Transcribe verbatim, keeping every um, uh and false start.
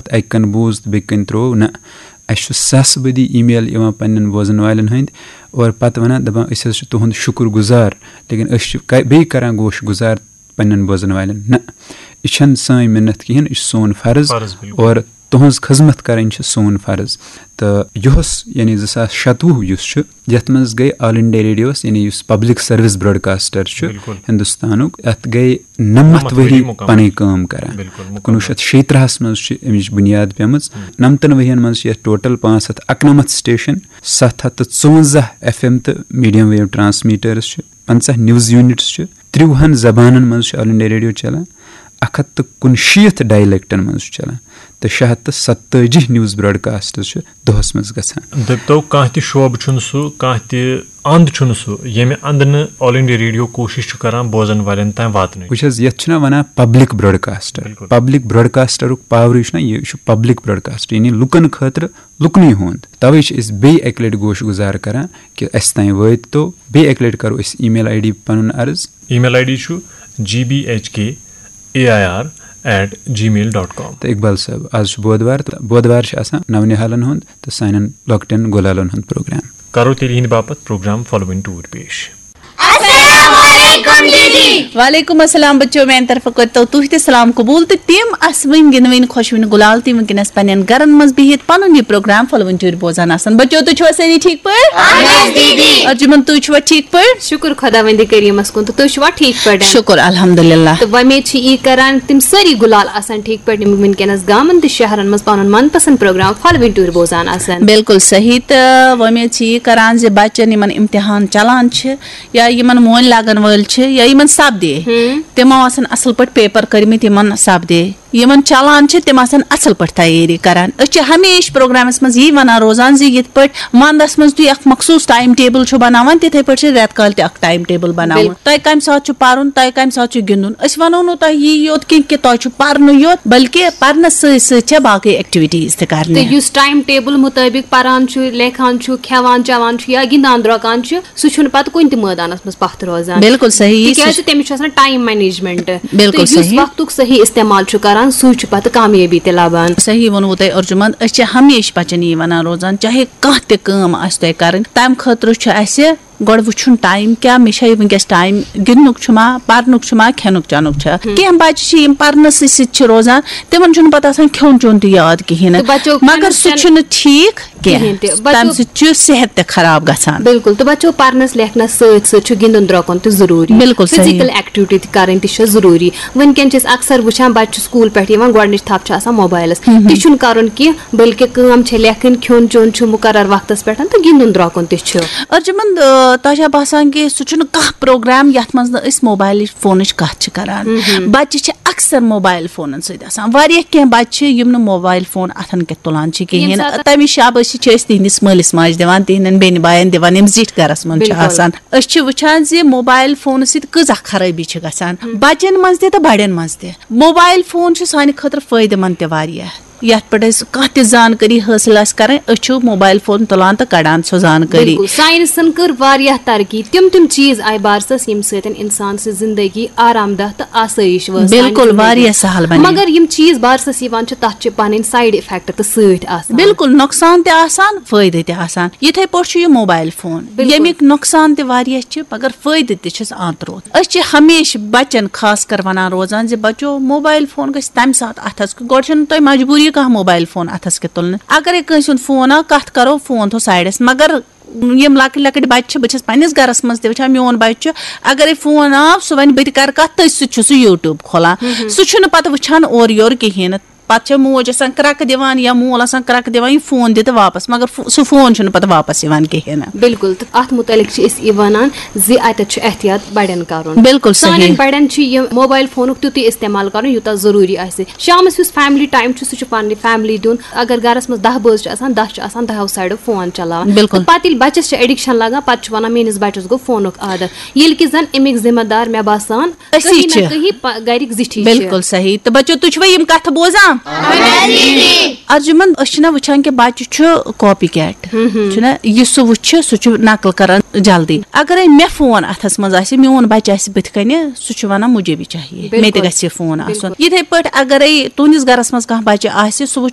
تہٕ اَکہِ کَنہٕ بوٗز تہٕ بیٚکہِ کَنہٕ ترٛوو، نہ۔ اَسہِ چھُ ساسہٕ بٔدی email یِوان پنٛنٮ۪ن بوزَن والٮ۪ن ہٕنٛدۍ، اور پَتہٕ وَنان، دَپان، "أسۍ حظ چھِ تُہُنٛد شُکُر گُزار، لیکن أسۍ چھِ ک-، بیٚیہِ کَران گوش گُزار پنٛنٮ۪ن بوزَن والٮ۪ن۔" نہ، یہِ چھَنہٕ سٲنۍ مِنت کِہیٖنۍ، یہِ چھُ سون فرض۔ فرض، بِلکُل۔ اور تُہٕنٛز خدمت کَرٕنۍ چھِ سون فرض۔ تہٕ یُہُس، یعنی زٕ ساس شَتوُہ یُس چھُ، یَتھ منٛز گٔے All India Radioس، یعنی یُس public service broadcaster چھُ بِلکُل۔ ہِندُستانُک، اَتھ گٔے نَمَتھ نَمَتھ ؤری ؤری مُکمل۔ پَنٕنۍ کٲم کَران۔ بِلکُل، مُکمل۔ کُنوُہ شیٚتھ شیٚیہِ ترٛہَس منٛز چھُ اَمِچ بُنیاد پیٚمٕژ۔ ہُم۔ نَمتَن ؤرۍیَن منٛز چھِ یَتھ total پانٛژھ ہَتھ اَکنَمَتھ station، سَتھ ہَتھ تہٕ ژُوَنٛزاہ F M تہٕ medium wave transmitters چھِ، پنٛژاہ news units چھِ، ترٛۆہَن زبانن منٛز چھُ All India Radio چلان، اکھ ہتھ تہٕ کُنشیٖتھ dialectن منٛز چھُ چلان، تہٕ شےٚ ہتھ تہٕ ستٲجی news broadcasts چھِ دۄہس منٛز گژھان۔ دٔپتو، کانٛہہ تہِ شعبہٕ چھُنہٕ سُہ، کانٛہہ تہِ اند چھُنہٕ سُہ، ییٚمہِ اندٕ نہٕ All India Radio کوٗشِش چھُ کران بوزن والٮ۪ن تام واتنٕچ۔ وٕچھ حظ، یتھ چھُنہ ونان public broadcaster۔ بِلکُل۔ Public broadcasterُک powerٕے چھُنہ، یہِ چھُ public broadcaster، یعنی لُکن خٲطرٕ، لُکنٕے ہُنٛد۔ توے چھِ أسۍ بیٚیہِ اکہِ لٹہِ گوش گُزار کران کہِ اسہِ تام وٲتۍ تو۔ بیٚیہِ اکہِ لٹہِ کرو أسۍ email I D پنُن عرض۔ Email I D چھُ G B H K A I R at gmail dot com۔ تہٕ اقبال صٲب، آز چھُ بودوار، تہٕ بودوار چھُ آسان نونِہالن ہُنٛد تہٕ سانٮ۪ن لۄکٹٮ۪ن گُلالن ہُنٛد پروگرام۔ کرو تیٚلہِ یِہنٛدِ باپتھ پروگرام فالووِنگ ٹوٗر پیش۔ السلام علیکم دیدی۔ وعلیکم السلام بچو، میانہِ طرفہٕ کٔرتو تُہۍ تہِ سلام قبول تہٕ تِم اسوٕنۍ گِنٛدوٕنۍ خۄشوٕنۍ گُلال تہِ وٕنکیٚنس پننٮ۪ن گرن منٛز بِہِتھ پنُن یہِ پروگرام فالووِنگ ٹوٗر بوزان آسان۔ بچو، تُہۍ چھِوا سٲری ٹھیٖک پٲٹھۍ؟ اہن حظ دیدی۔ ارجُمن، تُہۍ چھِوا ٹھیٖک پٲٹھۍ؟ شُکُر خۄداوندِ کریٖمس کُن، تہٕ تُہۍ چھِوا ٹھیٖک پٲٹھۍ؟ شُکُر الحمدللہ۔ تہٕ وۄمید چھِ یی کران تِم سٲری گُلال آسن ٹھیٖک پٲٹھۍ، یِم وٕنکیٚنس گامن تہٕ شہرن منٛز پنُن من پسند پروگرام فالووِنگ ٹوٗر بوزان آسن۔ بِلکُل صحیح، تہٕ وۄمید چھِ یی کران زِ بچن یِمن امتحان چلان چھِ یا یِمن وۄنۍ لگن وٲلۍ چھِ یا یِمن سپدے، ہم۔ تِمو آسن اصل پٲٹھۍ paper کٔرمٕتۍ، یِمن سپدے۔ یِمن چلان چھِ، تِم آسن اصل پٲٹھۍ تیٲری کران۔ أسۍ چھِ ہمیشہِ پروگرامس منٛز یی ونان روزان زِ یِتھ پٲٹھۍ ونٛدس منٛز تُہۍ اکھ مخصوٗص time table چھِو بناوان، تِتھے پٲٹھۍ چھِ رٮ۪تہٕ کالہِ تہِ اکھ time table بناوُن۔ بِلکُل۔ تۄہہِ کمہِ ساتہٕ چھُ پرُن، تۄہہِ کمہِ ساتہٕ چھُ گِنٛدُن۔ أسۍ ونو نہٕ تۄہہِ یی یوت کینٛہہ کہِ تۄہہِ چھُ پرنُے یوت، بلکہِ پرنس سۭتۍ سۭتۍ چھےٚ باقٕے activities تہِ کرنہِ۔ تہٕ یُس time table مُطٲبِق پران چھُ، لیکھان چھُ، کھٮ۪وان چٮ۪وان چھُ یا گِنٛدان درٛۄکان چھُ، سُہ چھُنہٕ پتہٕ کُنہِ تہِ مٲدانس منٛز پتھ روزان۔ بِلکُل صحیح، یہِ سُہ تِکیازِ چھُ تٔمِس چھُ آسان time management۔ بِلکُل تہٕ یُس صحیح۔ وقتُک صحیح استعمال چھُ کران، سُے چھُ پتہٕ کامیٲبی تہِ لبان۔ صحیح ووٚنوُ تۄہہِ ارجُمن، أسۍ چھِ ہمیشہِ بچن یی ونان روزان، چاہے کانٛہہ تہِ کٲم آسہِ تۄہہِ کرٕنۍ، تمہِ خٲطرٕ چھُ اسہِ گۄڈٕ وٕچھُن time کیٛاہ، مےٚ چھا یہِ وٕنکیٚس time، گِنٛدنُک چھُما، پرنُک چھُما، کھٮ۪نُک چٮ۪نُک چھا؟ ہم۔ کینٛہہ بچہِ چھِ یِم پرنسٕے سۭتۍ چھِ روزان، تِمن چھُنہٕ پتہٕ آسان کھیوٚن چیوٚن تہِ یاد کِہیٖنۍ نہٕ۔ تہٕ بچو مگر کھٮ۪نُک سُہ چٮ۪ن-، چھُنہٕ ٹھیٖک کینٛہہ۔ کِہیٖنۍ تہِ۔ بچو تَمہِ سۭتۍ چھُ صحت تہِ خراب گژھان۔ بِلکُل، تہٕ بچو پرنس لیکھنس سۭتۍ سۭتۍ چھُ گِنٛدُن درٛۄکُن تہِ ضروٗری۔ بِلکُل صحیح۔ Physical activity تہِ کرٕنۍ تہِ چھِ ضروٗری۔ وٕنکیٚن چھِ أسۍ اکثر وٕچھان، بچہِ چھُ سکوٗل پٮ۪ٹھ یِوان، گۄڈٕنِچ تھپھ چھِ آسان موبایلس۔ ہم۔ تہِ چھُنہٕ کرُن کینٛہہ، بلکہِ کٲم چھےٚ لیکھٕنۍ، کھیوٚن چیوٚن چھُ مُقرر وقتس پٮ۪ٹھ تہٕ گِنٛدُن درٛۄکُن تہِ چھُ۔ ارجُمن، آ، تۄہہِ چھا باسان کہِ سُہ چھُنہٕ کانٛہہ پروگرام یتھ منٛز نہٕ أسۍ موبایلٕچ فونٕچ کتھ چھِ کران؟ مہم۔ بچہِ چھِ اکثر موبایل فونن سۭتۍ آسان۔ واریاہ کینٛہہ بچہِ چھِ یِم نہٕ موبایل فون اتھن کٮ۪تھ تُلان چھِ کِہیٖنۍ۔ ییٚمہِ ساتہٕ تمِچ شابٲشی چھِ أسۍ تِہنٛدِس مٲلِس ماجہِ دِوان، تِہنٛدٮ۪ن بیٚنہِ باین دِوان، یِم زِٹھۍ گرس منٛز چھِ بِلکُل۔ آسان۔ أسۍ چھِ وٕچھان زِ موبایل فونہٕ سۭتۍ کۭژاہ خرٲبی چھِ گژھان، ہم۔ بچن منٛز تہِ تہٕ بڑٮ۪ن منٛز تہِ۔ موبایل فون چھُ سانہِ خٲطرٕ فٲیدٕ مند تہِ واریاہ۔ یتھ پٮ۪ٹھ أسۍ کانٛہہ تہِ زانکٲری حٲصِل آسہِ کرٕنۍ، أسۍ چھِ موبایل فون تُلان تہٕ کڑان سۄ زانکٲری۔ بِلکُل، ساینسن کٔر واریاہ ترقی، تِم تِم چیٖز آیہِ بارسس، ییٚمہِ سۭتۍ انسان سٕنٛز زندگی آرام دہ تہٕ آسٲیِش وٲژ سانہِ بِلکُل، زندگی۔ واریاہ سہل بنے۔ مگر یِم چیٖز بارسس یِوان چھِ، تتھ چھِ پنٕنۍ side effect تہِ سۭتۍ آسان۔ بِلکُل، نۄقصان تہِ آسان، فٲیدٕ تہِ آسان۔ یِتھے پٲٹھۍ چھُ یہِ موبایل فون، بِلکُل۔ ییٚمِکۍ نۄقصان تہِ واریاہ چھِ، مگر فٲیدٕ تہِ چھِس آنٛت روت۔ أسۍ چھِ ہمیشہِ بچن خاص کر ونان روزان زِ بچو، موبایل فون گژھِ تمہِ ساتہٕ اتھس کیُتھ، گۄڈٕ چھنہٕ تۄہہِ مجبوٗری کانٛہہ موبایل فون اتھس کیُتھ تُلنہٕ۔ اگرے کٲنٛسہِ ہُنٛد فون آو، کتھ کرو، فون تھو سایڈس۔ مگر یِم لۄکٕٹۍ لۄکٕٹۍ بچہِ چھِ، بہٕ چھس پننِس گرس منٛز تہِ وٕچھان، میون بچہِ چھُ، اگرے فون آو، سُہ ونہِ، "بہٕ تہِ کرٕ کتھ، تٔتھۍ سۭتۍ چھُ سُہ YouTube کھولان۔" مہم۔ سُہ چھُنہٕ پتہٕ وٕچھان اورٕ یورٕ کِہیٖنۍ نہٕ۔ پتہٕ چھےٚ موج آسان کرٛکہٕ دِوان یا مول آسان کرٛکہٕ دِوان، یہِ فون دِ تہٕ واپس، مگر فو-، سُہ فون چھُنہٕ پتہٕ واپس یِوان کِہیٖنۍ نہٕ۔ بِلکُل، تہٕ اتھ مُتعلق چھِ أسۍ یہِ ونان زِ اتٮ۪تھ چھُ احتیاط بڑٮ۪ن کرُن۔ بِلکُل صحیح۔ سانٮ۪ن بڑٮ۪ن چھُ یہِ موبایل فونُک تیُتُے استعمال کرُن، یوٗتاہ ضروٗری آسہِ۔ شامس یُس family time چھُ، سُہ چھُ پننہِ family دیُن۔ اگر گرس منٛز دَہ بٲژ چھِ آسان، دَہ چھِ آسان دَہو سایڈو فون چلاوان۔ بِلکُل۔ تہٕ پتہٕ ییٚلہِ بچس چھِ addiction لگان، پتہٕ چھُ ونان، "میٲنِس بچس گوٚو فونُک عادت"، ییٚلہِ کہِ زن امیِکۍ ذمہٕ دار، مےٚ باسان، أسی کہیں نہ چھِ۔ کہیں پا-، گرِکۍ زِٹھی چھِ۔ بِلکُل صحیح۔ تہٕ بچو، تُہۍ چھِوا یِم کتھٕ بوزان؟ ارجُمن، أسۍ چھِنہ وٕچھان کہِ بچہِ چھُ copy cat۔ ہم ہم۔ چھُنہ، یہِ سُہ وٕچھِ، سُہ چھُ نقل کران جلدی۔ اگرے مےٚ فون اتھس منٛز آسہِ، میون بچہِ آسہِ بٕتھِ کنہِ، سُہ چھُ ونان، "مجھے بھی چاہیے، مےٚ تہِ بِلکُل۔ گژھِ یہِ فون آسُن۔" بِلکُل۔ یِتھے پٲٹھۍ اگرے تُہنٛدِس گرس منٛز کانٛہہ بچہِ آسہِ، سُہ وٕچھِ